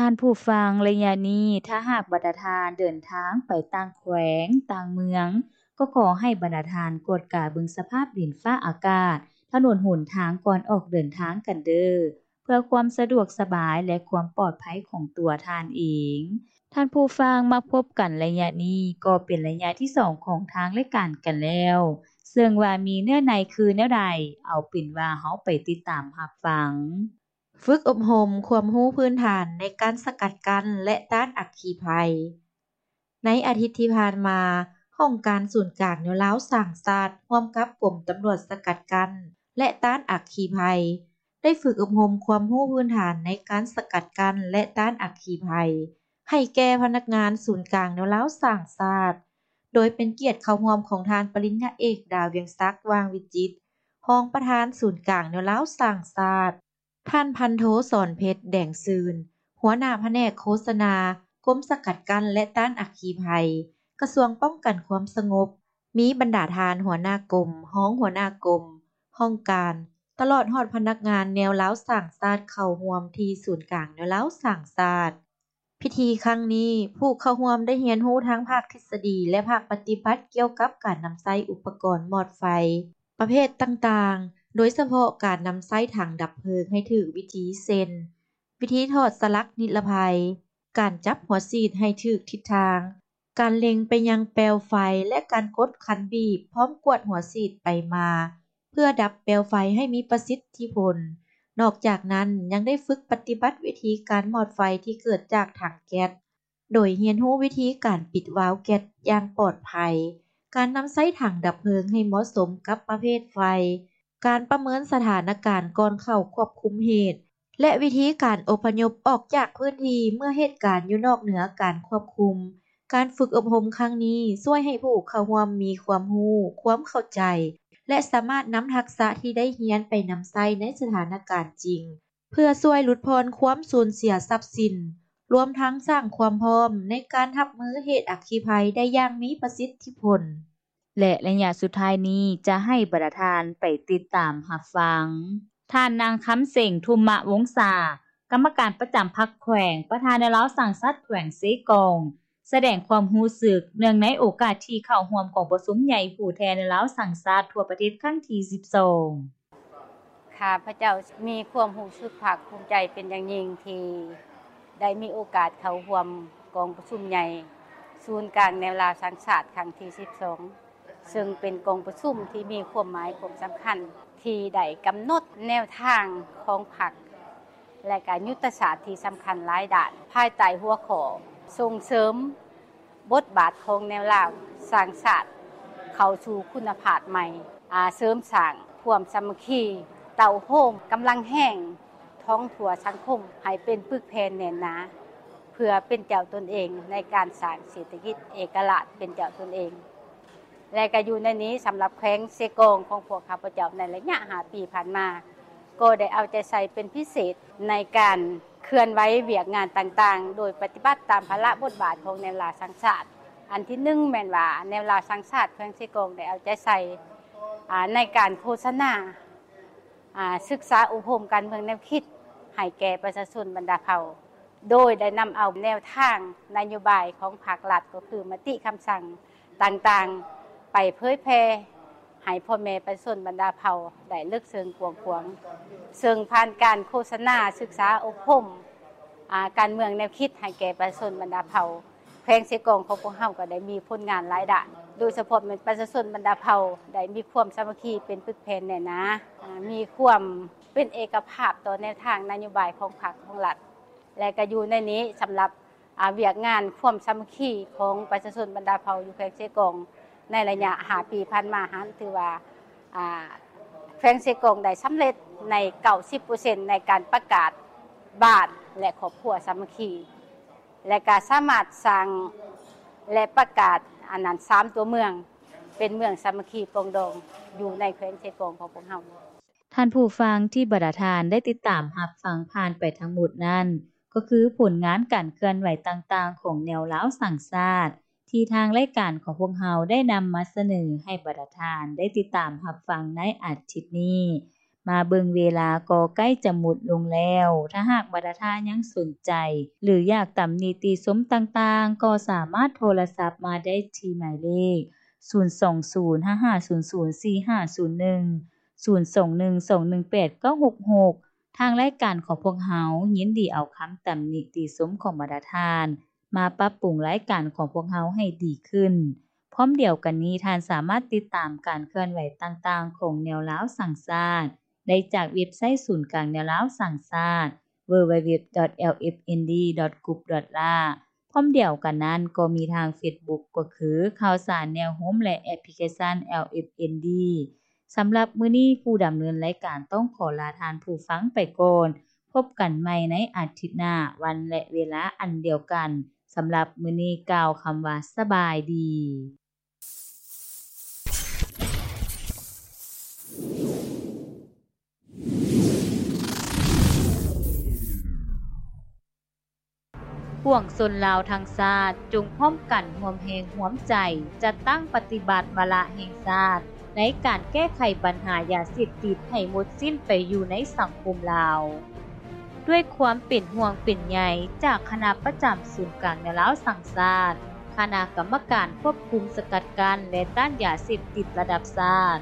ທ່ານຜູ້ຟັງ, ໄລຍະນີ້ ຖ້າຫາກບັນດາທ່ານເດີນທາງໄປຕ່າງແຂວງ, ຕ່າງເມືອງ, ກໍຂໍໃຫ້ບັນດາທ່ານກວດກາເບິ່ງສະພາບດິນຟ້າອາກາດ, ຖະໜົນຫົນທາງກ່ອນອອກເດີນທາງກັນເດີ້. ເພື່ອຄວາມສະດວກສະບາຍ ແລະ ຄວາມປອດໄພຂອງຕົວທ່ານເອງ. ທ່ານຜູ້ຟັງ, ມາພົບກັນໄລຍະນີ້ກໍເປັນໄລຍະທີສອງຂອງທາງລາຍການກັນແລ້ວ, ເຊິ່ງວ່າມີເນື້ອໃນຄືແນວໃດ, ເອົາເປັນວ່າເຮົາໄປຕິດຕາມຮັບຟັງ. ຝຶກອົບຮົມຄວາມຮູ້ພື້ນຖານໃນການສະກັດກັ້ນ ແລະ ຕ້ານອັກຄີໄພ. ໃນອາທິດທີ່ຜ່ານມາ, ຫ້ອງການສູນກາງແນວລາວສ້າງຊາດ ຮ່ວມກັບກົມຕຳຫຼວດສະກັດກັ້ນ ແລະ ຕ້ານອັກຄີໄພ ໄດ້ຝຶກອົບຮົມຄວາມຮູ້ພື້ນຖານໃນການສະກັດກັ້ນ ແລະ ຕ້ານອັກຄີໄພ ໃຫ້ແກ່ພະນັກງານສູນກາງແນວລາວສ້າງຊາດ, ໂດຍເປັນກຽດເຂົ້າຮ່ວມຂອງທ່ານປະລິນຍາເອກ ດາວຽງສັກ ຫວ່າງວິຈິດ, ຮອງປະທານສູນກາງແນວລາວສ້າງຊາດ. ທ່ານພັນໂທ ສອນເພັດ ແດງຊື່ນ ຫົວໜ້າພະແນກໂຄສະນາ ກົມສະກັດກັ້ນ ແລະ ຕ້ານອັກຄີໄພ ກະຊວງປ້ອງກັນຄວາມສະຫງົບ, ມີບັນດາທ່ານຫົວໜ້າກົມ, ຮອງຫົວໜ້າກົມ, ຫ້ອງການ, ຕະຫຼອດຮອດພະນັກງານແນວລາວສ້າງຊາດເຂົ້າຮ່ວມທີ່ສູນກາງແນວລາວສ້າງຊາດ. ພິທີຄັ້ງນີ້, ຜູ້ເຂົ້າຮ່ວມໄດ້ຮຽນຮູ້ທັງພາກທິດສະດີ ແລະ ພາກປະຕິບັດກ່ຽວກັບການນຳໃຊ້ອຸປະກອນມອດໄຟປະເພດຕ່າງໆ, ໂດຍສະເພາະການນຳໃຊ້ຖັງດັບເພີງໃຫ້ຖືກວິທີ ເຊັ່ນ ວິທີຖອດສະຫຼັກນິລະໄພ, ການຈັບຫົວສີດໃຫ້ຖືກທິດທາງ, ການເລັງໄປຍັງແປວໄຟ ແລະ ການກົດຄັນບີບ ພ້ອມກວດຫົວສີດໄປມາ ເພື່ອດັບແປວໄຟໃຫ້ມີປະສິດທິຜົນ. ນອກຈາກນັ້ນ, ຍັງໄດ້ຝຶກປະຕິບັດວິທີການມອດໄຟທີ່ເກີດຈາກຖັງແກັດ, ໂດຍຮຽນຮູ້ວິທີການປິດວາວແກັດຢ່າງປອດໄພ, ການນຳໃຊ້ຖັງດັບເພີງໃຫ້ເໝາະສົມກັບປະເພດໄຟ, ການປະເມີນສະຖານະການກ່ອນເຂົ້າຄວບຄຸມເຫດ ແລະ ວິທີການອົບພະຍົບອອກຈາກພື້ນທີ່ເມື່ອເຫດການຢູ່ນອກເໜືອການຄວບຄຸມ. ການຝຶກອົບຮົມຄັ້ງນີ້ຊ່ວຍໃຫ້ຜູ້ເຂົ້າຮ່ວມມີຄວາມຮູ້, ຄວາມເຂົ້າໃຈ ແລະ ສາມາດນຳທັກສະທີ່ໄດ້ຮຽນໄປນຳໃຊ້ໃນສະຖານະການຈິງ, ເພື່ອຊ່ວຍຫຼຸດຜ່ອນຄວາມສູນເສຍຊັບສິນ, ລວມທັງສ້າງຄວາມພ້ອມໃນການຮັບມືເຫດອັກຄີໄພໄດ້ຢ່າງມີປະສິດທິຜົນ. ແລະ ໄລຍະສຸດທ້າຍນີ້ຈະໃຫ້ບັນດາທ່ານໄປຕິດຕາມຮັບຟັງ ທ່ານນາງ ຄຳເສັງ ທຸມມະວົງສາ, ກຳມະການປະຈຳພັກແຂວງ, ປະທານແນວລາວສ້າງຊາດແຂວງເຊກອງ, ສະແດງຄວາມຮູ້ສຶກເນື່ອງໃນໂອກາດທີ່ເຂົ້າຮ່ວມກອງປະຊຸມໃຫຍ່ຜູ້ແທນແນວລາວສ້າງຊາດທົ່ວປະເທດຄັ້ງທີສິບສອງ. ຂ້າພະເຈົ້າມີຄວາມຮູ້ສຶກພາກພູມໃຈເປັນຢ່າງຍິ່ງ ທີ່ໄດ້ມີໂອກາດເຂົ້າຮ່ວມກອງປະຊຸມໃຫຍ່ສູນກາງແນວລາວສ້າງຊາດຄັ້ງທີສິບສອງ ເຊິ່ງເປັນກອງປະຊຸມທີ່ມີຄວາມໝາຍຄວາມສຳຄັນ ທີ່ໄດ້ກຳນົດແນວທາງຂອງພັກ ແລະ ກະຍຸດທະສາດທີ່ສຳຄັນຫຼາຍດ້ານ ພາຍໃຕ້ຫົວຂໍ້ ສົ່ງເສີມ ບົດບາດຂອງແນວລາວສ້າງຊາດເຂົ້າສູ່ຄຸນນະພາບໃໝ່, ອາ, ເສີມສ້າງຄວາມສາມັກຄີ ເຕົ້າໂຮມກຳລັງແຮງ ທ້ອງທົ່ວສັງຄົມໃຫ້ເປັນປຶກແຜ່ນແໜ້ນໜາ ເພື່ອເປັນເຈົ້າຕົນເອງໃນການສ້າງເສດຖະກິດເອກະລາດເປັນເຈົ້າຕົນເອງ. ແລະ ກະຢູ່ໃນນີ້ ສຳລັບແຂວງເຊກອງຂອງພວກຂ້າພະເຈົ້າໃນໄລຍະຫ້າປີຜ່ານມາ ກໍໄດ້ເອົາໃຈໃສ່ເປັນພິເສດໃນການ ເຄື່ອນໄຫວວຽກງານຕ່າງໆ ໂດຍປະຕິບັດຕາມພາລະບົດບາດຂອງແນວລາວສ້າງຊາດ. ອັນທີໜຶ່ງແມ່ນວ່າ ແນວລາວສ້າງຊາດແຂວງເຊກອງໄດ້ເອົາໃຈໃສ່ ອາ ໃນການໂຄສະນາ ອາ ສຶກສາອົບຮົມການເມືອງແນວຄິດໃຫ້ແກ່ປະຊາຊົນບັນດາເຜົ່າ ໂດຍໄດ້ນຳເອົາແນວທາງນະໂຍບາຍຂອງພາກລັດ ກໍຄືມະຕິຄຳສັ່ງ ຕ່າງໆ ໄປເຜີຍແຜ່ໃຫ້ພໍ່ແມ່ປະຊາຊົນບັນດາເຜົ່າໄດ້ເລິກເຊິ່ງກວ້າງຂວາງ, ເຊິ່ງຜ່ານການໂຄສະນາສຶກສາອົບຮົມ ອາ ການເມືອງແນວຄິດໃຫ້ແກ່ປະຊາຊົນບັນດາເຜົ່າ, ແຂວງເຊກອງຂອງພວກເຮົາກໍໄດ້ມີຜົນງານຫຼາຍດ້ານ, ໂດຍສະເພາະແມ່ນປະຊາຊົນບັນດາເຜົ່າໄດ້ມີຄວາມສາມັກຄີເປັນປຶກແຜ່ນແໜ້ນໜາ, ອາ ມີຄວາມເປັນເອກະພາບຕໍ່ແນວທາງນະໂຍບາຍຂອງພັກຂອງລັດ. ແລະ ກະຢູ່ໃນນີ້ ສຳລັບ ອາ ວຽກງານຄວາມສາມັກຄີຂອງປະຊາຊົນບັນດາເຜົ່າຢູ່ແຂວງເຊກອງ ໃນໄລຍະຫ້າປີຜ່ານມາຫັ້ນ ຖືວ່າ ອາ ແຂວງເຊກອງໄດ້ສຳເລັດໃນເກົ້າສິບເປີເຊັນ ໃນການປະກາດບ້ານ ແລະ ຄອບຄົວສາມັກຄີ ແລະ ກະສາມາດສ້າງ ແລະ ປະກາດ ອັນນັ້ນ ສາມຕົວເມືອງ ເປັນເມືອງສາມັກຄີປອງດອງ ຢູ່ໃນແຂວງເຊກອງຂອງພວກເຮົາ. ທ່ານຜູ້ຟັງທີ່ບັນດາທ່ານໄດ້ຕິດຕາມຮັບຟັງຜ່ານໄປທັງໝົດນັ້ນ ກໍຄືຜົນງານການເຄື່ອນໄຫວຕ່າງໆຂອງແນວລາວສ້າງຊາດ ທີ່ທາງລາຍການຂອງພວກເຮົາໄດ້ນຳມາສະເໜີໃຫ້ບັນດາທ່ານໄດ້ຕິດຕາມຮັບຟັງໃນອາທິດນີ້. ມາເບິ່ງເວລາກໍໃກ້ຈະໝົດລົງແລ້ວ. ຖ້າຫາກວ່າທ່ານຍັງສົນໃຈ ຫຼື ຢາກຕຳນິຕິຊົມຕ່າງໆ ກໍສາມາດໂທລະສັບມາໄດ້ທີ່ໝາຍເລກ ສູນສອງສູນ ຫ້າຫ້າສູນສູນ ສີ່ຫ້າສູນໜຶ່ງ ສູນສອງໜຶ່ງສອງໜຶ່ງແປດເກົ້າຫົກຫົກ. ທາງລາຍການຂອງພວກເຮົາຍິນດີເອົາຄຳຕຳນິຕິຊົມຂອງບັນດາທ່ານ ມາປັບປຸງລາຍການຂອງພວກເຮົາໃຫ້ດີຂຶ້ນ. ພ້ອມດຽວກັນນີ້, ທ່ານສາມາດຕິດຕາມການເຄື່ອນໄຫວຕ່າງໆຂອງແນວລາວສ້າງຊາດ ໄດ້ຈາກເວັບໄຊສູນກາງແນວລາວສ້າງຊາດ www.lfnd.group.la. ພ້ອມດຽວກັນນັ້ນກໍມີທາງເຟສບຸກ ກໍຄືຂ່າວສານແນວໂຮມ ແລະ ແອັບພລິເຄຊັນ LFND. ສຳລັບມື້ນີ້ ຜູ້ດຳເນີນລາຍການຕ້ອງຂໍລາທ່ານຜູ້ຟັງໄປກ່ອນ. ພົບກັນໃໝ່ໃນອາທິດໜ້າ, ວັນ ແລະ ເວລາອັນດຽວກັນ. ສຳລັບມື້ນີ້ກ່າວຄຳວ່າສະບາຍດີ. ປວງຊົນລາວທັງຊາດ ຈົ່ງພ້ອມກັນຮ່ວມແຮງຮ່ວມໃຈ ຈັດຕັ້ງປະຕິບັດວາລະແຫ່ງຊາດ ໃນການແກ້ໄຂບັນຫາຢາເສບຕິດໃຫ້ໝົດສິ້ນໄປຢູ່ໃນສັງຄົມລາວ. ດ້ວຍຄວາມເປັນຫ່ວງເປັນໃຍຈາກຄະນະປະຈຳສູນກາງແນວລາວສ້າງຊາດ, ຄະນະກຳມະການຄວບຄຸມສະກັດກັ້ນ ແລະ ຕ້ານຢາເສບຕິດລະດັບຊາດ,